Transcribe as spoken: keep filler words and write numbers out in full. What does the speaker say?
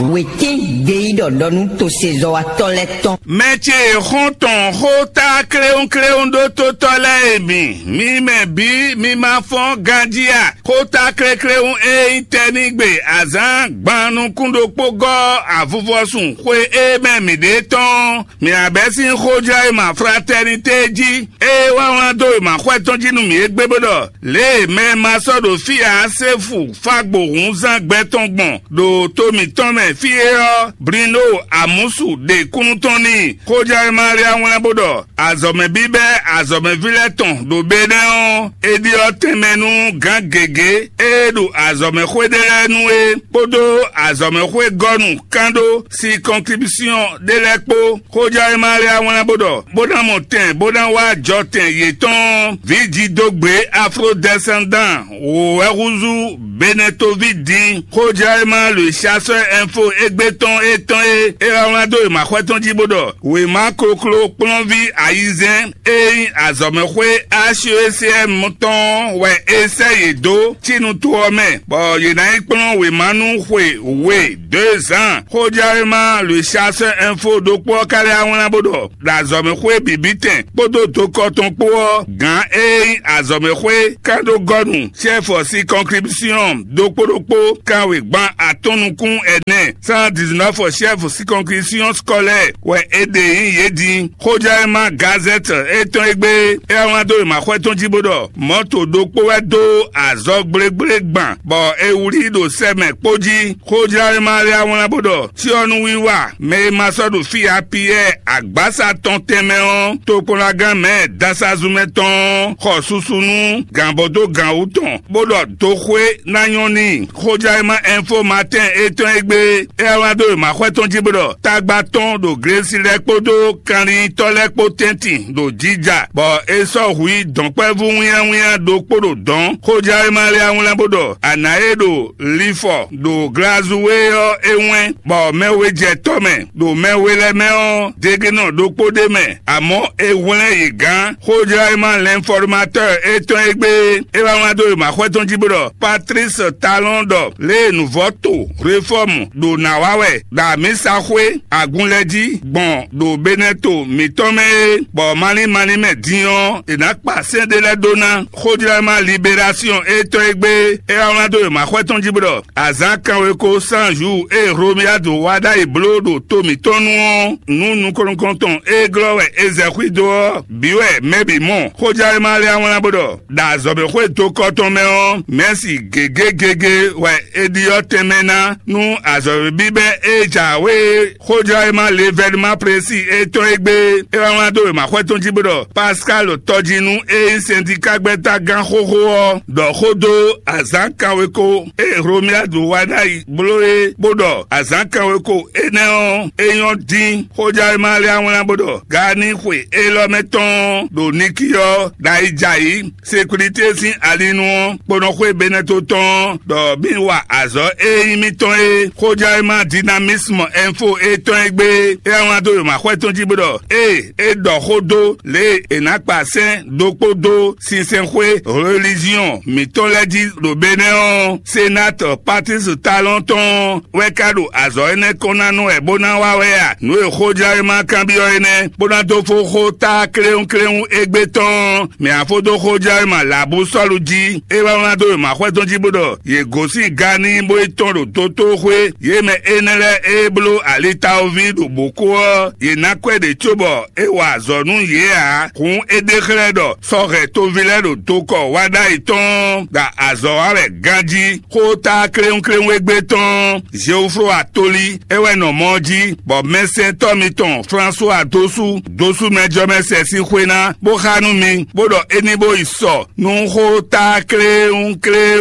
Wětín gbeyíɖɔ ɖɔ nú tosezɔ́watɔ́ lɛ́ɛ tɔn. Mɛ ce e xɔ́n tɔn xó tá kléwúnkléwún ɖó tótɔ́ lɛ́ɛ e mi, mi mɛ bǐ mi ma fɔ́n ganjí a? Xó tá klékléwún e nyí tɛ́nígbe azǎn gban nukún ɖokpó gɔ́ avuvɔsun xwe e mɛ mǐ ɖe tɔn, mǐ ná bɛ́ sín xójɔ́ e ma fratɛ́nitée jí, ée wá wlán dó wěma xwɛ tɔn jí nú mǐ égbé bó ɖɔ: Lě e mɛ e ma sɔ́ ɖo fí ǎ se fu fágbo hǔnzán gbɛ tɔn gbɔn ɖo to mǐtɔn mɛ fí é ɔ́, Blino Amusu ɖe kúnnu tɔn n'i. Xójɛ́wéma lɛ́ɛ wlán bó ɖɔ: Azɔ̌mɛ bíbɛ́ azɔ̌mɛví lɛ́ɛ tɔn ɖo Benɛ́ ɔ́, é ɖyɔ́ tɛnmɛ nú gǎn gěgé e ɖo azɔ̌mɛxwé ɖé lɛ́ɛ nu é, kpódó azɔ̌mɛxwé gɔ́nu kán ɖó sikɔntribúsyɔn ɖé lɛ́ɛ kpó. Xójɛ́wéma lɛ́ɛ wlán bó ɖɔ: Bó ná mɔ tɛn bó ná wá jɔtɛn yětɔn ɔ́, vǐjidógbě afrodɛsɛndan wǒ wɛ húzú Benɛtoví din. Xójɛ́wéma le Chasseur Info égbé tɔn é tɔn é, é wá wlán dó wěma xwɛ tɔn jí bó ɖɔ: Wěma kokló kplɔ́nví ayizɛ́n e nyí azɔ̌mɛxwé H E C M tɔn ɔ́ wɛ é sɛ́ yě dó Cínu to ɔ́ mɛ, bɔ yě ná yi kplɔ́n wěma nú xwe we deux ans. Xójɛ́wéma le Chasseur Info ɖokpó ɔ́ ka lɛ́ wá wlán bó ɖɔ: Ɖo azɔ̌mɛxwé bǐbítɛn kpódó dokɔ tɔn kpó ɔ́, gǎn e nyí azɔ̌mɛxwé kánɖógɔ́nu, chɛ́fɔ sikɔnkribúsyɔn ɖokpó ɖokpó kanwegban atɔ́n nukún ɛnɛ, cent dix-neuf chɛ́fɔ sikɔnkribúsyɔn scolaire wɛ è ɖe nyí yě din. Xójɛ́wéma Gazette étɔn égbé é wá wlán dó wěma xwɛ tɔn jí bó ɖɔ: Mɔ̌to ɖokpó wɛ dó azɔ̌ gblégblé gban, bɔ è wlí ɖo sɛ mɛ kpó jí. Xójɛ́wéma lɛ́ɛ wlán bó ɖɔ: Cyɔ́núwiwa mɛ e ma sɔ́ ɖo fí ǎ Piyɛ́ɛ agbǎsa tɔn tɛnmɛ ɔ́, tokpɔnlagán mɛ dasazumɛ tɔn ɔ́ xɔ susu nú gǎnbɔdógǎn wú tɔn, bó ɖɔ doxwé ná nyɔ́ n'i. Xójɛ́wéma Info Matin étɔn égbé é wá wlán dó wěma xwɛ tɔn jí bó ɖɔ: Tagba tɔn ɖo Glesi lɛ́ɛ kpódó kanlintɔ́ lɛ́ɛ kpó tɛ́ntin ɖo jija, bɔ è sɔ́ hu yi dɔ̌nkpɛvú wínnyáwínnyá ɖokpó ɖo dɔ̌n. Xójɛ́wéma lɛ́ɛ wlán bó ɖɔ: Anǎ e ɖo Lifɔ ɖo Glazuwé ɔ́ é wɛ́n, bɔ mɛ we jɛ tɔ mɛ, ɖo mɛ we lɛ́ɛ mɛ ɔ́, degenɔ ɖokpó ɖ'é mɛ, amɔ̌ è hwlɛ́n yě gán. Xójɛ́wéma L'Informateur étɔn égbé é wá wlán dó wěma xwɛ tɔn jí bó ɖɔ: Patlísi Talɔ́n ɖɔ: Lě e nǔvɔ́ to Hlwefɔ́mu ɖo nǎ wa wɛ ɖo amǐsaxwé agun lɛ́ɛ jí gbɔn ɖo Benɛto mǐtɔn mɛ é, bɔ malín malín mɛ din ɔ́, è nǎ kpa sɛ́n ɖé lɛ́ɛ ɖó ná. Xójlɛ́ma Liberasiyɔn étɔn e gbé é wá wlán dó wěma xwɛ tɔn jí bó ɖɔ: Azǎn kanweko cent jours e Hlomiyadu wa ɖ'ayǐ bló ɖo to mǐtɔn nu ɔ́, nǔ nukɔn-nukɔntɔn e glɔ́ wɛ è zɛ xwído ɔ́ bǐ wɛ mɛ bǐ mɔ. Xójlɛ́ma lɛ́ɛ wlán bó ɖɔ: Ɖo azɔ̌mɛxwé dokɔ tɔn mɛ ɔ́, mɛ̌si gěgé gěgé wɛ è ɖyɔ́ tɛnmɛ ná nú azɔ̌ bíbɛ́ e jǎwe e. Xójlɔ́yímá Levɛ́núma Plesi e tɔn e gbé é wá wlán dó wěma xwɛ tɔn jí bó ɖɔ Paskálu tɔjínu e nyí sɛntikágbɛ́tágán xóxó ɔ́ ɖɔ xó dó azǎn kanweko e Hlomiyadu wa ɖ'ayǐ bló é, bó ɖɔ azǎn kanweko énɛ́ ɔ́, é nyɔ́ dín. Xójlɔ́yímá lɛ́ wá wlán bó ɖɔ Gaani xwe élɔ́ mɛ tɔn ɔ́ ɖo Nikiyɔ́ɔ ɖo ayǐjǎyǐ Sekulitée sín ali nu ɔ́, kponɔxwé Benɛto tɔn ɔ́, ɖɔ mǐ wa azɔ̌ e nyí mítɔn é. Xójɛ́wéma Dinamisme Info e tɔn e gbé é wá wlán dó wěma xwɛ tɔn jí bó ɖɔ: Ée é ɖɔ xó dó lě e è nǎ kpa sɛ́n ɖokpó dó sinsɛnxwé reliziɔn mǐtɔn lɛ́ɛ jí ɖo Benɛ́ ɔ́, Senat Patlísi Talɔ́n tɔn ɔ́ wɛ ka ɖo azɔ̌ énɛ́ kɔn ná nú wɛ bó ná wa wɛ a? Nǔ e xójɛ́wéma kanbyɔ́ é nɛ́, bó ná dó fó xó tá kléwúnkléwún égbé tɔn ɔ́, mɛ afódó xójɛ́wéma Labusɔ́lu jí. É wá wlán dó wěma xwɛ tɔn jí bó ɖɔ: Yě gosín Gaani bó yi tɔ́n ɖo dotóxwé; yě mɛ énɛ́ lɛ́ɛ e bló alitawoví ɖo bǒ kó ɔ́, yě ná kwɛ́ ɖě cóbɔ é wa azɔ̌ nú yě ǎ. Hǔn é ɖe xlɛ́ ɖɔ sɔ́ hɛn toví lɛ́ɛ ɖo dokɔ wa ɖ'ayǐ tɔn ɔ́, ɖo azɔ̌ wa wɛ ganjí. Xó tá kléwúnkléwún égbé tɔn ɔ́, Zeoflo Atoli é wɛ nɔ mɔ ɔ́ jí, bɔ mɛsɛntɔ́ mitɔn Flasuwa dó sú dó sú mɛjɔmɛsɛn sín xwé ná, bó xá nú mi, bó ɖɔ é ní bó yi sɔ nú xó tá kléwúnkléwún.